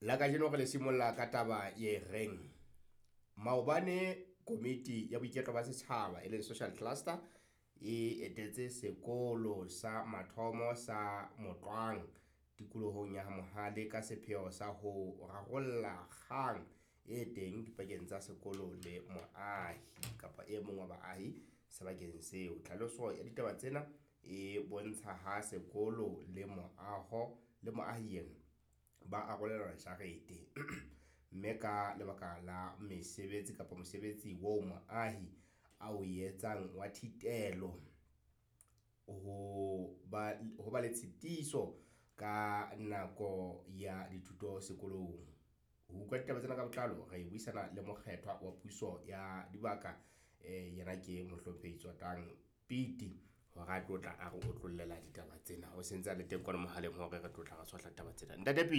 La kajeno re le simolla ka taba e reng maobane komiti ya boiketlo ba setjhaba e leng social cluster e etetse sekolo sa mathomo sa Motlwang tikolohong ya Mohale ka sepheo sa ho rarolla kgang e teng dipakeng tsa sekolo le moahi kapa e mong wa baahi sebakeng seo. Tlhaloso ya ditaba tsena e bontsha ha sekolo le moaho le moahi ena ba arolelana jarete, mme ka lebaka la mesebetsi kapa mosebetsi oo moahi a o etsang wa thitelo ho ba le tshitiso ka nako ya dithuto sekolong. Ho utlwa ditaba tsena ka botlalo re buisana le mokgethwa wa puso ya dibaka, yena ke Mohlomphehi Tsotang Piti hore a tlo tla a re otlollela ditaba tsena. O sentse a le teng kwana mohaleng hore re tlo tla re tshohla taba tsena. Ntate Piti.